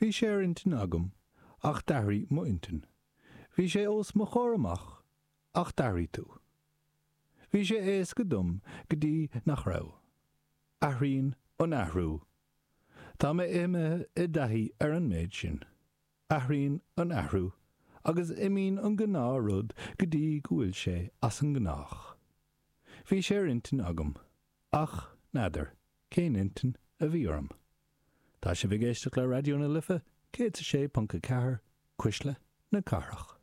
Bhí sé ar intinn agam ach d'athraigh m'intinn. Bhí sé os mo chomhair amach ach d'athraigh tú. Bhí sé éasca dom go dtí nach raibh. Athraíonn an athrú. Tá mé imithe i dtaithí ar an méid sin. Athraíonn an athrú agus imíonn an gnáthrud go dtí go bhfuil sé as an ngnách. Bhí sé ar intinn agam, ach n'fheadar cén intinn a bhí orm. Tá sibh ag éisteacht le Raidió na Life 106.4, Cuisle na Cathrach.